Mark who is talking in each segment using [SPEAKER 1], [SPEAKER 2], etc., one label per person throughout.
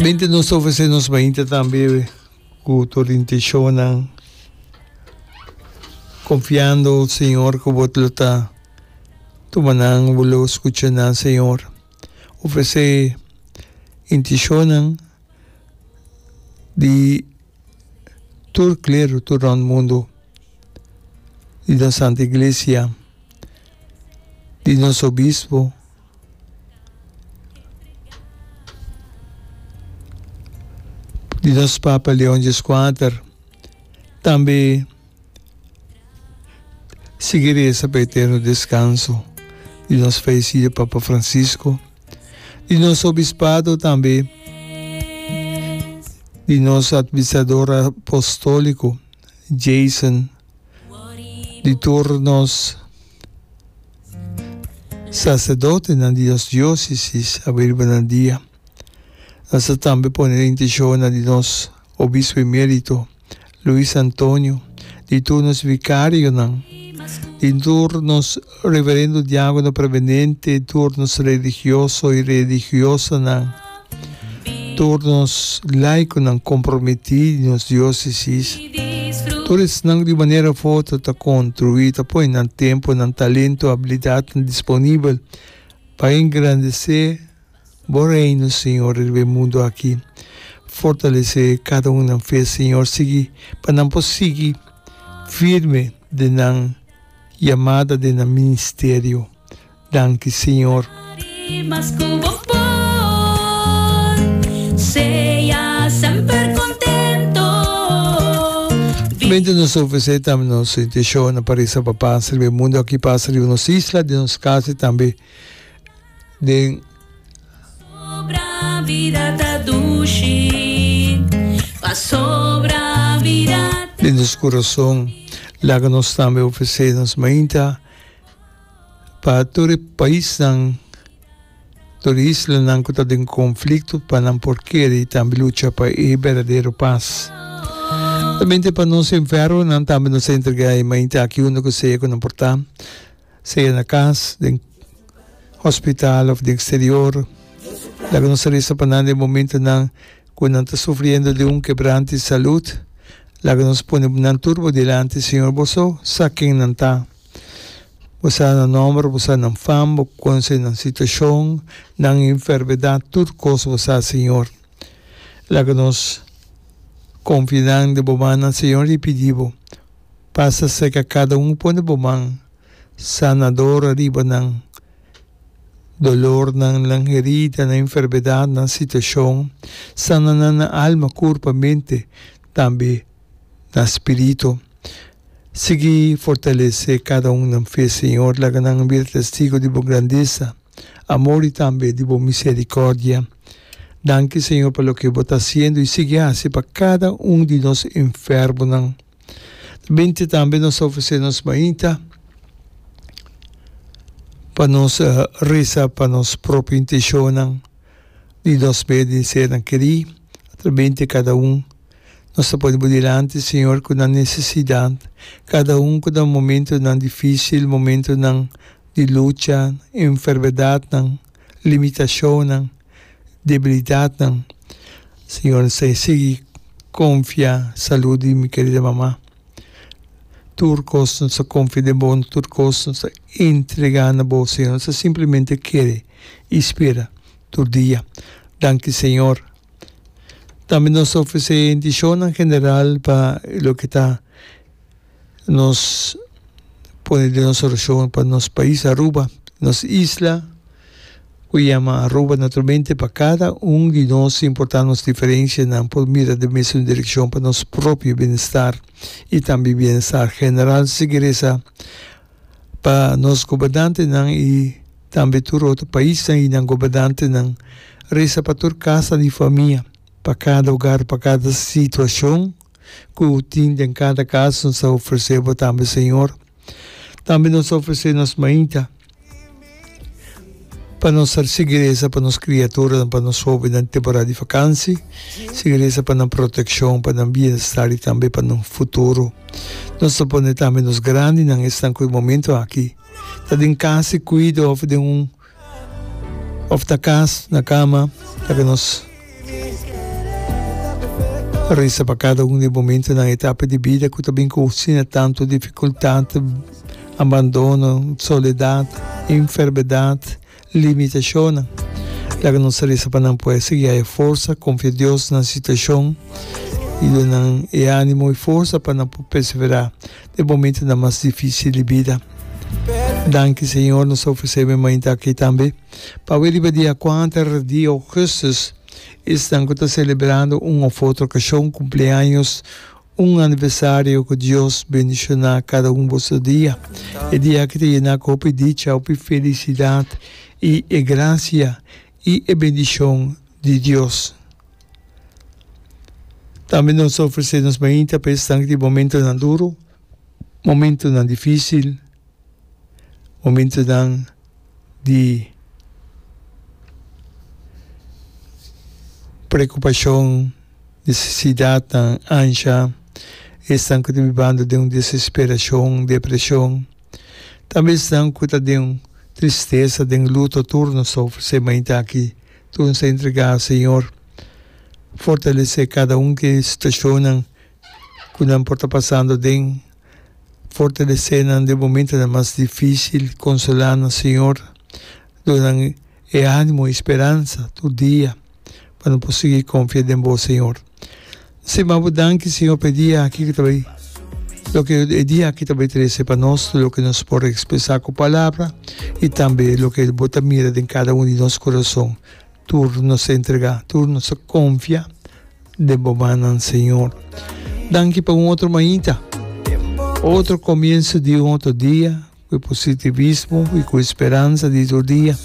[SPEAKER 1] Mente nos ta ofresé nos mainta tambe ku tur intenshonnan, konfiando, Señor, ku Bo lo ta tuma nan, Bo lo skucha nan, Señor. Ofresé intenshonnan di tur klero tur rònt mundu, di nos Santa Iglesia, di nos Obispo. Di nos Papa Leon Dieskuater tambe sigui resa pa eterno deskanso di nos fayesido Papa Francisco, di nos Obispado tambe di nos Administrador Apostóliko Jason, di tur nos. Saserdotenan di nos diósesis a bai riba nan dia. Nos ta tambe pone e intenshonnan di nos Obispo Emérito, Luis Antonio, di tur nos vikarionan, di tur nos Reverendo Diákono Prevenente, tur nos religioso i religiosanan, tur nos laikonan komprometí di nos diósesis. Tur esnan di un manera of otro ta kontribuí, ta pone nan tempu, nan talento, abilidatnan disponibel pa engrandesé Bo Reino, Señor, riba e mundu aki. Fortalesé kada un nan fe, Señor, sigui pa nan por sigui firme den nan yamada, den nan ministerio. Danki Señor. Mente nos ofrece tambe nos intencionnan pa reza pa pas riba e mundo aki, pas riba nos isla, den nos cas y tambe den. Den nos corazon. Laga nos tambe ofrece nos mainta. Pa tur e paisnan, tur e islanan ku ta den konflikto pa nan por kere i tambe lucha pa e berdadero pas. Solamente pa nos enfermonan tambe nos ta entregá e mainta aki unda ku sea ku nan por ta, sea na kas, den hospital òf den eksterior. Laga nos resa pa nan den momentonan ku nan ta sufriendo di un kebrante di salud. Laga nos pone nan tur bo dilanti, Señor, bo so sa ken nan ta. Bo sa nan nomber, bo sa nan fam, bo conoce nan situacion, nan enfermedad, tur cos bo sa, Señor. Laga nos confia nan den bo mannan, Señor, y pidi bo, pasa cerca cada un, pone bo man sanador ariba nan dolornan, nan herida, nan enfermedad, nan situacion. Sana nan na alma, curpa, mente, tambe na spirito. Sigui fortalesé kada un nan fe, Señor. Laga nan bira testigo di bo grandesa, amor i tambe di bo miserikòrdia. Danki, Señor, pa loke bo ta hasiendo i sigui hasi pa kada un di nos enfermonan. Binti tambe nos ta ofresé nos mainta pa nos resa pa nos propio intenshonnan di nos medio di sernan kerí. Atrabente kada un. Nos ta pone bo dilanti, Señor, ku nan nesesidat, kada un ku nan momentonan difísil, momentonan di lucha, enfermedatnan, limitashonnan, debilidatnan. Señor, nos ta sigui konfia salud di mi kerida mama. Tur kos nos ta konfia den bo, tur kos nos ta entregá na bo, Señor. Nos ta simplemente kere i spera tur dia. Danki, Señor. Tambe nos ta ofresé indishonnan general pa loke ta nos pone den nos orashon pa nos pais Aruba, nos isla ku yama Aruba naturalmente pa kada un di nos sin importá nos diferensianan por mira den mesun direkshon pa nos propio bienestar i tambe bienestar general. Sigui resa pa nos gobernantenan i tambe tur otro paisnan i nan gobernantenan. Resa pa tur kasa di famia, pa kada hogar, pa kada situashon ku tin den kada kas nos ta ofresé bo tambe Señor. Tambe nos ta ofresé nos mainta pa nos ta sigui resa pa nos kriaturanan, pa nos hóbennan temporada di fakansi, sigui resa pa nan protekshon, pa nan bienestar i tambe pa nan futuro. Nos ta pone tambe nos grandinan, esnan ku e momento aki ta den kas di kuido òf den un òf ta kas na kama, laga nos. Resa pa kada un di e momentonan, etapa di bida ku ta bin ku asina tantu difikultat, abandono, soledat, enfermedat, limitashonnan. Laga nos resa pa nan por sigui haya forsa, konfia Dios na nan situashon i duna nan e ánimo i forsa pa nan por perseverá den momentonan mas difísil di bida. Danki Señor, nos ta ofresé bo e mainta aki tambe pa awe riba dia kuater di ougùstùs. Esnan ku ta selebrando un òf otro okashon, kumpleaños, un aniversario, ku Dios bendishoná kada un boso dia. E dia aki ta yená ku hopi dicha, hopi felisidat i e grasia i e bendishon di Dios. Tambe nos ta ofresé nos mainta pa esnan ku tin momentonan duru, momentonan difísil. Momentonan di preokupashon, nesesidatnan, ansha, esnan ku ta bibando den un desesperashon, depreshon, tambe esnan ku ta den tristesa, den luto, tur nos ta ofresé mainta aki, tur nos ta entregá, Señor, fortalesé kada un ku e situashonnan ku nan por ta pasando den. Fortalesé nan den momentonan mas difísil, konsolá nan, Señor, duna nan e ánimo i speransa tur dia pa nan por sigui konfia den Bo, Señor. Stima Bo danki, Señor, pa e dia aki ku ta bai, loke e dia aki ta bai trese pa nos, loke nos por ekspresá ku palabra i tambe loke Bo ta mira den kada un di nos kurason. Tur nos ta entregá, tur nos ta konfia den bo mannan, Señor. Danki pa un otro mainta, otro komienso di un otro dia, ku e positivismo i ku e speransa di tur dia.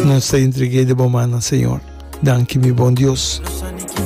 [SPEAKER 1] Nos ta entreg'é den bo mannan, Señor. Danki, mi bon Dios.